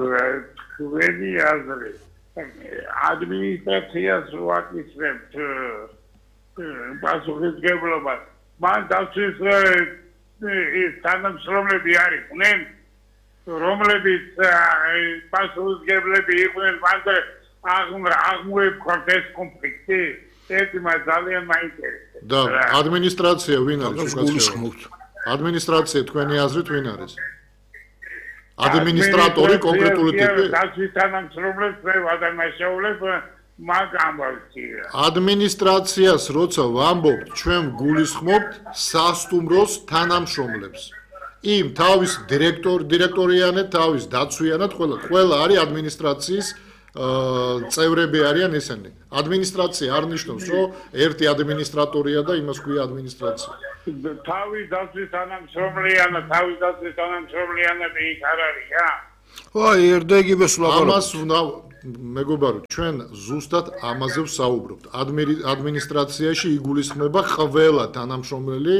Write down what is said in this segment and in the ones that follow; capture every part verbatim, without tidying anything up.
თქვენი აზრი ადმინისტრაციას ვაკისრებთ პასუხისმგებლობას მან დაცვის ის თანამშრომლები არიყვნენ რომლებიც პასუხისმგებლები იყვნენ მანზე აღმოეფქვათ ეს კონფლიქტი ეს მას ძალიან მაინტერესებს და ადმინისტრაცია ვინ არის უკაცრავად ადმინისტრაცია თქვენი აზრით ვინ არის ადმინისტრატორი კონკრეტული ტიპი დაცვის თანამშრომლებს ვადანაშაულებ მაგ ამბავში ადმინისტრაციას როცა ვამბობთ ჩვენ გულისხმობთ სასტუმროს თანამშრომლებს იმ თავის დირექტორ დირექტორიანად თავის დაცვიანად ყველა ყველა არის ადმინისტრაციის წევრები არიან ესენი ადმინისტრაცია არ ნიშნავს რომ ერთი ადმინისტრატორია და იმას ქვია ადმინისტრაცია თავის დაცვის თანამშრომლიანად თავის დაცვის თანამშრომლიანად იქ არ არია აი ერდეგივე სულაპარაკობთ ამას უნდა მეგობარო ჩვენ ზუსტად ამაზე ვსაუბრობთ ადმინისტრაციაში იგულისხმება ყველა თანამშრომელი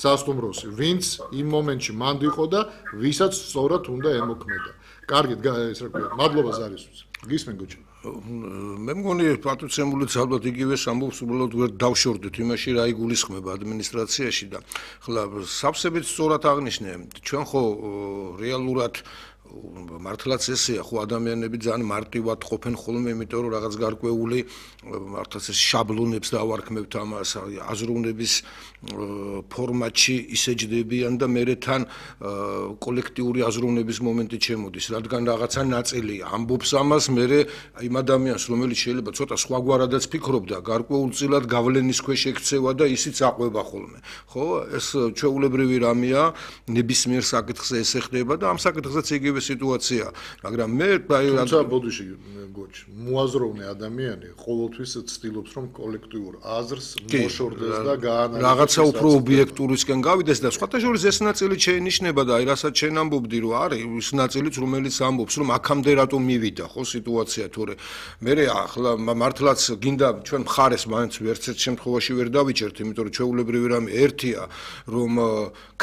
სასტუმროსი ვინც იმ მომენტში მანდ იყო და ვისაც სწორად უნდა ემოქმედა კარგით ეს რა ქვია მადლობა ზარისთვის გისმენ გოჩა მე მგონი პატუცემულიც ალბათ იგივეს ამბობს უბრალოდ ვერ დავშორდეთ იმაში რა იგულისხმება ადმინისტრაციაში და ხლა სავსებით სწორად აღნიშნე ჩვენ ხო რეალურად მართლაც ესეა ხო ადამიანები ძალიან მარტივად ყოფენ ხოლმე იმიტომ რომ რაღაც გარკვეული მართლაც ეს შაბლონებს დავარქმევთ ამას აზროვნების ფორმატში ისეჯდებიან და მერე თან კოლექტიური აზროვნების მომენტი შემოდის რადგან რაღაცა ნაწილი ამბობს ამას მერე იმ ადამიანს რომელიც შეიძლება ცოტა სხვაგვარადაც ფიქრობდა გარკვეულწილად გავლენის ქვეშ ექცევა და ისიც აყვება ხოლმე ხო ეს ჩვეულებრივი რამეა ნებისმიერ საკითხზე ესე ხდება და ამ საკითხზეც იგივე სიტუაცია მაგრამ მე თუმცა ბოდიში გოჩ მოაზროვნე ადამიანი ყოველთვის ცდილობს რომ კოლექტიურ აზრს მოშორდეს და გაანალიზოს რაღაცა უფრო ობიექტურისკენ გავიდეს და სხვათა შორის ეს ნაწილი შეინიშნება და აი რასაც შენ ამბობდი რომ არის ის ნაწილიც რომელიც ამბობს რომ აქამდე რატომ მივიდა ხო სიტუაცია თორე მე ახლა მართლაც გინდა ჩვენ მხარეს მაინც ვერცერთ შემთხვევაში ვერ დავიჭერთ იმიტომ რომ ჩვეულებრივი რამე ერთია რომ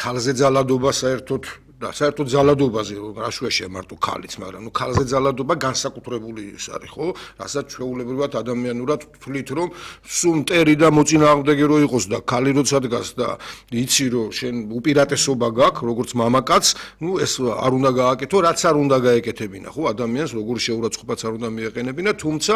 ქალზე ძალადობა საერთოდ და საერთოდ ძალადობაზე რაშვეშია მარტო ქალიც მაგრამ ნუ ქალზე ძალადობა განსაკუთრებული ის არის ხო რასაც ჩვეულებრივად ადამიანურად ვთვლით რომ სულ მტერი და მოწინააღმდეგე რო იყოს და ქალი როცა დგას და იცი რომ შენ უპირატესობა გაქვს როგორც მამაკაც ნუ ეს არ უნდა გააკეთო რაც არ უნდა გაეკეთებინა ხო ადამიანს როგორ შეურაცხყოფაც არ უნდა მიეყენებინა თუმცა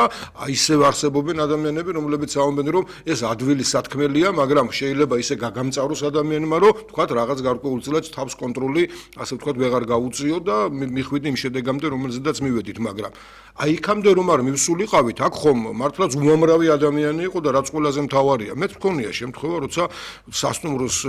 ისევ არსებობენ ადამიანები რომლებიც ამბობენ რომ ეს ადვილი სათქმელია მაგრამ შეიძლება ისე გაგამწაროს ადამიანმა რომ თქვათ რაღაც გარკვეულწილად თავს კონტროლი ასე ვთქვათ ვეღარ გაუწიო და მიხვიდე იმ შედეგამდე რომელზედაც მივედით მაგრამ აი იქამდე რომ არ მივსულიყავით აქ ხომ მართლაც უამრავი ადამიანი იყო და რაც ყველაზე მთავარია მეც მქონია შემთხვევა როცა სასტუმროს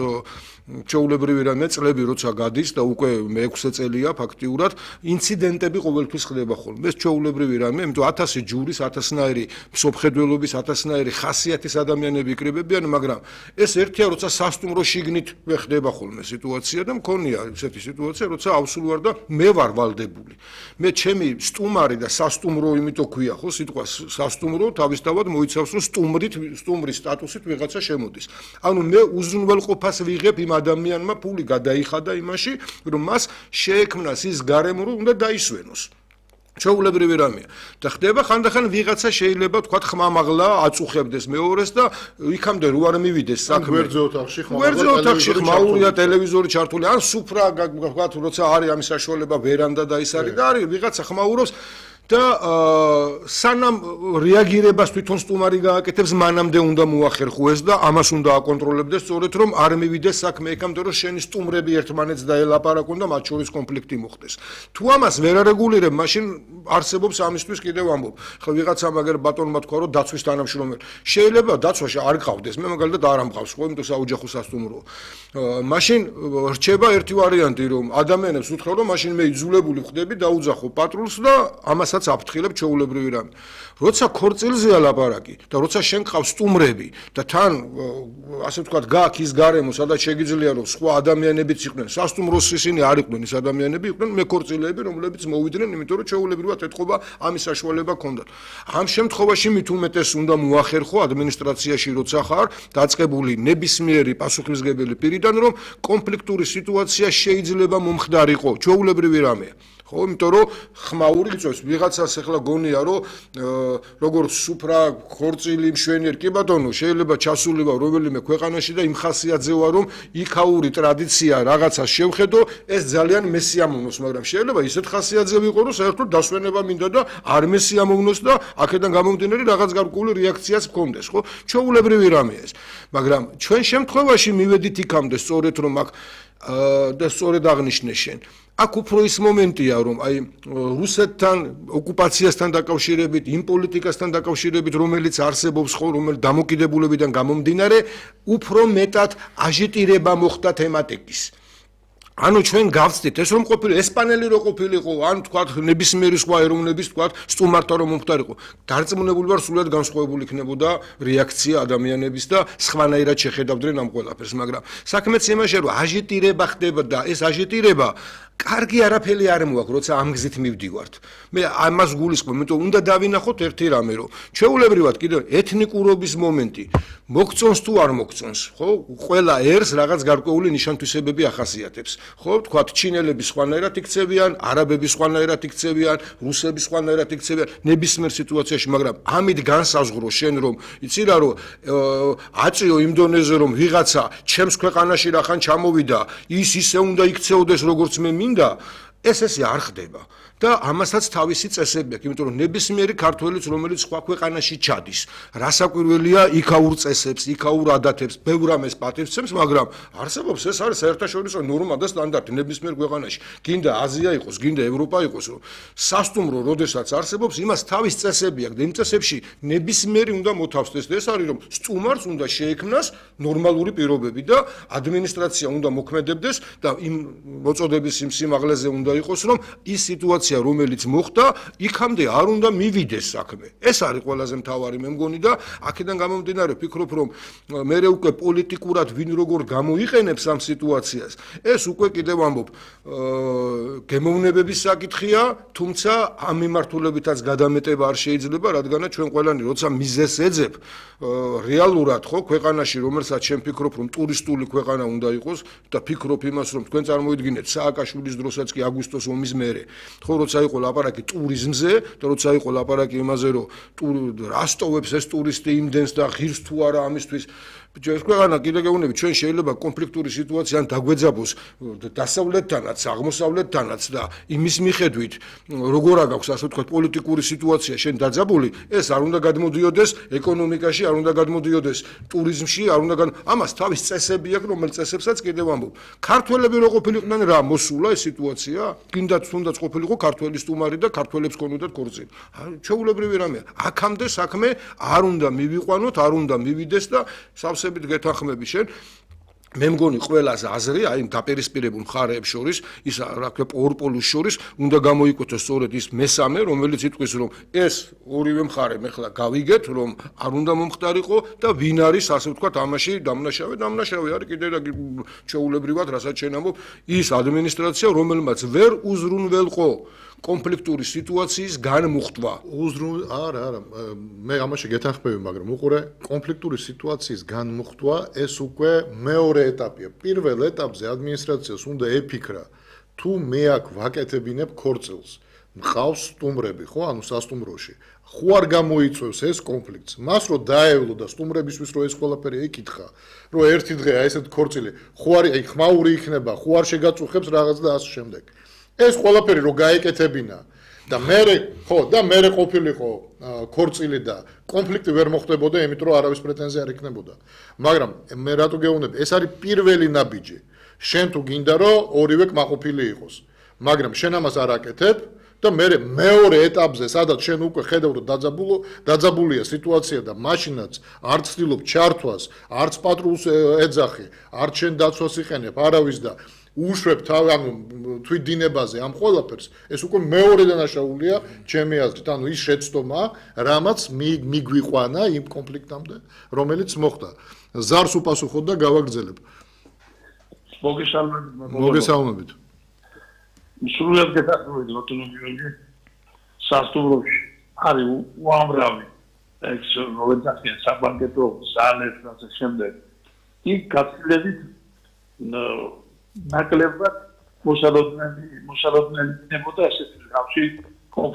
ჩვეულებრივი რამე წლები როცა გადის და უკვე მეექვსე წელია ფაქტიურად ინციდენტები ყოველთვის ხდება ხოლმე ეს ჩვეულებრივი რამე იმიტომ ათასი ჯურის ათასნაირი მსოფლმხედველობის ათასნაირი ხასიათის ადამიანები იკრიბებიან მაგრამ ეს ერთია როცა სასტუმრო შიგნით ხდება ხოლმე სიტუაცია და მქონია ესეთი სიტუაცია როცა ავსულ ვარ და მე ვარ ვალდებული მე ჩემი სტუმარი და სასტუმრო იმიტომ ქვია ხო სიტყვა სასტუმრო თავისთავად მოიცავს რომ სტუმრით სტუმრის სტატუსით ვიღაცა შემოდის ანუ მე უზრუნველყოფას ვიღებ იმ ადამიანმა ფული გადაიხადა იმაში რომ მას შეექმნას ის გარემო რომ უნდა დაისვენოს ჩვეულებრივი რამეა და ხდება ხანდახან ვიღაცა შეიძლება თქვა ხმამაღლა აწუხებდეს მეორეს და იქამდე რო არ მივიდეს საქმე გვერდზე ოთახში ხმამაღლა გვერდზე ოთახში ხმაურია ტელევიზორი ჩართული ან სუფრა თქვა როცა არის ამის საშუალება ვერანდა და ის არის და არის ვიღაცა ხმაურობს და სანამ რეაგირებას თვითონ სტუმარი გააკეთებს მანამდე უნდა მოახერხო ეს და ამას უნდა აკონტროლებდეს სწორედ რომ არ მივიდეს საქმე ეკამდე რომ შენი სტუმრები ერთმანეთს დაელაპარაკონ და მათ შორის კონფლიქტი მოხდეს თუ ამას ვერ არეგულირებ მაშინ არსებობს ამისთვის კიდევ ამბობ ხო ვიღაცა მაგერ ბატონმა თქვა რომ დაცვის თანამშრომელი შეიძლება დაცვაში არ გყავდეს მე მაგალითად არ ამყავს ხო იმიტომ საოჯახო სასტუმროა მაშინ რჩება ერთი ვარიანტი რომ ადამიანებს უთხრა რომ მაშინ მე იძულებული ვხდები დაუძახო პატრულს და ამას რასაც აფრთხილებ ჩვეულებრივი რამე. როცა ქორწილზეა ლაპარაკი და როცა შენ ყავს სტუმრები და თან ასე ვთქვათ გაქვს ის გარემო, სადაც შეგიძლია რომ სხვა ადამიანებიც იყვნენ, სასტუმროს ისინი არ იყვნენ ის ადამიანები, იყვნენ მეკორწილეები, რომლებიც მოვიდნენ, იმიტომ რომ ჩვეულებრივად ეთყობა ამის საშუალება ჰქონდათ. ამ შემთხვევაში მით უმეტეს უნდა მოახერხო ადმინისტრაციაში როცა ხარ დაწყებული ნებისმიერი პასუხისმგებელი პირიდან, რომ კონფლიქტური სიტუაცია შეიძლება მომხდარიყო, ჩვეულებრივი რამეა. ხო, იმიტომ რომ ხმაური იწვევს ვიღაცას ახლა გონია რომ როგორც სუფრა ქორწილი მშვენიერ კი ბატონო შეიძლება ჩასულიყო რომელიმე ქვეყანაში და იმ ხასიათზე ვარ რომ იქაური ტრადიცია რაღაცას შევხედო ეს ძალიან მესიამოვნოს მაგრამ შეიძლება ისეთ ხასიათზე ვიყო რომ საერთოდ დასვენება მინდა და არ მესიამოვნოს და აქედან გამომდინარე რაღაც გარკვეული რეაქციაც მქონდეს ხო ჩვეულებრივი რამეა ეს მაგრამ ჩვენ შემთხვევაში მივედით იქამდე სწორედ რომ აქ და სწორედ აღნიშნე შენ აქ უფრო ის მომენტია რომ აი რუსეთთან ოკუპაციასთან დაკავშირებით იმ პოლიტიკასთან დაკავშირებით რომელიც არსებობს ხო რომელიც დამოკიდებულებიდან გამომდინარე უფრო მეტად აჟიტირება მოხდა თემატიკის ანუ ჩვენ გავწდით ეს რომ ყოფილი ესპანელი რო ყოფილიყო ან თქვათ ნებისმიერი სხვა ეროვნების თქვათ სტუმართა რომ მომხდარიყო დარწმუნებული ვარ სულად განსხვავებული იქნებოდა რეაქცია ადამიანების და სხვანაირად შეხედავდნენ ამ ყველაფერს მაგრამ საქმეც იმაშია რომ აჟიტირება ხდება და ეს აჟიტირება კარგი არაფერი არ მოაქვს, როცა ამ გზით მივდივართ. მე ამას გულისხმობ, იმიტომ უნდა დავინახოთ ერთი რამე, რომ ჩვეულებრივად კიდევ ეთნიკურობის მომენტი მოგწონს თუ არ მოგწონს, ხო? ყველა ერს რაღაც გარკვეული ნიშან-თვისებები ახასიათებს. ხო, თქვათ ჩინელები სხვანაირად იქცევიან, არაბები სხვანაირად იქცევიან, რუსები სხვანაირად იქცევიან, ნებისმიერ სიტუაციაში, მაგრამ ამით განსაზღვრო შენ რომ იცი რა რომ აწიო იმ დონეზე რომ ვიღაცა ჩემს ქვეყანაში რახან ჩამოვიდა, ის ისე უნდა იქცეოდეს როგორც მე მინდა ეს ესე არ ხდება და ამასაც თავისი წესები აქვს იმიტომ რომ ნებისმიერი ქართველიც რომელიც სხვა ქვეყანაში ჩადის რასაკვირველია იქაურ წესებს იქაურ ადათებს ბევრ ამას პატივცემს მაგრამ არსებობს ეს არის საერთაშორისო ნორმა და სტანდარტი ნებისმიერ ქვეყანაში გინდა აზია იყოს გინდა ევროპა იყოს რომ სასტუმრო როდესაც არსებობს იმას თავის წესები აქვს და იმ წესებში ნებისმიერი უნდა მოთავსდეს და ეს არის რომ სტუმარს უნდა შეექმნას ნორმალური პირობები და ადმინისტრაცია უნდა მოქმედებდეს და იმ მოწოდების იმ სიმაღლეზე უნდა იყოს რომ ის სიტუაცია რომელიც მოხდა, იქამდე არ უნდა მივიდეს საქმე. ეს არის ყველაზე მთავარი მე მგონი და აქედან გამომდინარე ვფიქრობ რომ მე უკვე პოლიტიკურად ვინ როგორ გამოიყენებს ამ სიტუაციას. ეს უკვე კიდევ ამბობ გემოვნებების საკითხია, თუმცა ამ მიმართულებითაც გადამეტება არ შეიძლება, რადგანაც ჩვენ ყველანი როცა მიზეს ეძებ რეალურად ხო ქვეყანაში რომელსაც შენ ფიქრობ რომ ტურისტული ქვეყანა უნდა იყოს და ფიქრობ იმას რომ თქვენ წარმოიდგინეთ სააკაშვილის დროსაც კი აგვისტოს ომის მერე ხო როცა იყო ლაპარაკი ტურიზმზე და როცა იყო ლაპარაკი იმაზე რომ რასტოვებს ეს ტურისტი იმდენს და ღირს თუ არა ამისთვის ეს ქვეყანა კიდე გეუბნები ჩვენ შეიძლება კონფლიქტური სიტუაცია ან დაგვეძაბოს დასავლეთთანაც აღმოსავლეთთანაც და იმის მიხედვით როგორ აქვს ასე ვთქვათ პოლიტიკური სიტუაცია შენ დაძაბული ეს არ უნდა გადმოდიოდეს ეკონომიკაში არ უნდა გადმოდიოდეს ტურიზმში არ უნდა ამას თავის წესები აქვს რომელ წესებსაც კიდევ ამბობ ქართველები რო ყოფილიყვნენ რა მოსულა ეს სიტუაცია კიდაც თუნდაც ყოფილიყო ქართველი სტუმარი და ქართველებს ქონოდათ ქორწილი ჩვეულებრივი რამეა აქამდე საქმე არ უნდა მივიყვანოთ არ უნდა მივიდეს და სავსე გეთანხმები შენ მე მგონი ყველაზე აზრი აი დაპირისპირებულ მხარეებს შორის ის რა ქვია ორ-პოლუს შორის უნდა გამოიკვეთოს სწორედ ის მესამე რომელიც იტყვის რომ ეს ორივე მხარე მე ხლა გავიგეთ რომ არ უნდა მომხდარიყო და ვინ არის ასე ვთქვათ ამაში დამნაშავე დამნაშავე არის კიდე რა ჩვეულებრივად რასაც შენ ამბობ ის ადმინისტრაცია რომელმაც ვერ უზრუნველყო კონფლიქტური სიტუაციის განმუხტვა. უზრუნ არა, არა, მე ამაში გეთანხმები, მაგრამ უყურე, კონფლიქტური სიტუაციის განმუხტვა ეს უკვე მეორე ეტაპია. პირველ ეტაპზე ადმინისტრაციას უნდა ეფიქრა, თუ მე აქ ვაკეთებინებ ქორწილს. მყავს სტუმრები, ხო, ანუ სასტუმროში. ხო არ გამოიწვევს ეს კონფლიქტს. მას რო დაევლო და სტუმრებისთვის რო ეს ყველაფერი ეკითხა, რომ ერთი დღე აი ესეთ ქორწილი, ხო არის აი ხმაური იქნება, ხო არ შეგაწუხებს რაღაც და ასე შემდეგ. ეს ყველაფერი რო გაეკეთებინა და მე ხო და მე ყოფილიყო ქორწილი და კონფლიქტი ვერ მოხდებოდა, იმიტომ რომ არავის პრეტენზია არ იქნებოდა. მაგრამ მე რატო გეუბნები, ეს არის პირველი ნაბიჯი. შენ თუ გინდა რომ ორივე კმაყოფილი იყოს. მაგრამ შენ ამას არ აკეთებ და მე მეორე ეტაპზე, სადაც შენ უკვე ხედავ რომ დაძაბულო, დაძაბულია სიტუაცია და მაშინაც არ ცდილობ ჩართვას, არც პატრულს ეძახი, არც შენ დაცვას იყენებ, არავის და უშვებ თავ ანუ თვითდინებაზე ამ ყველაფერს ეს უკვე მეორე დანაშაულია ჩემი აზრით ანუ ის შეცდომა რამაც მიგვიყვანა იმ კონფლიქტამდე რომელიც მოხდა ზარს უპასუხოთ და გავაგრძელებ მოგესალმებით მოგესალმებით სრულიად გეთანხმებით ბატონო გიორგი სასტუმროში არის უამრავი ეს როლედახიან საბანკეტო ზალებს და ასე შემდეგ იქ გაცილებით ნაკლებად მოსალოდნელი მოსალოდნელი ნებოდა ესეთი გავში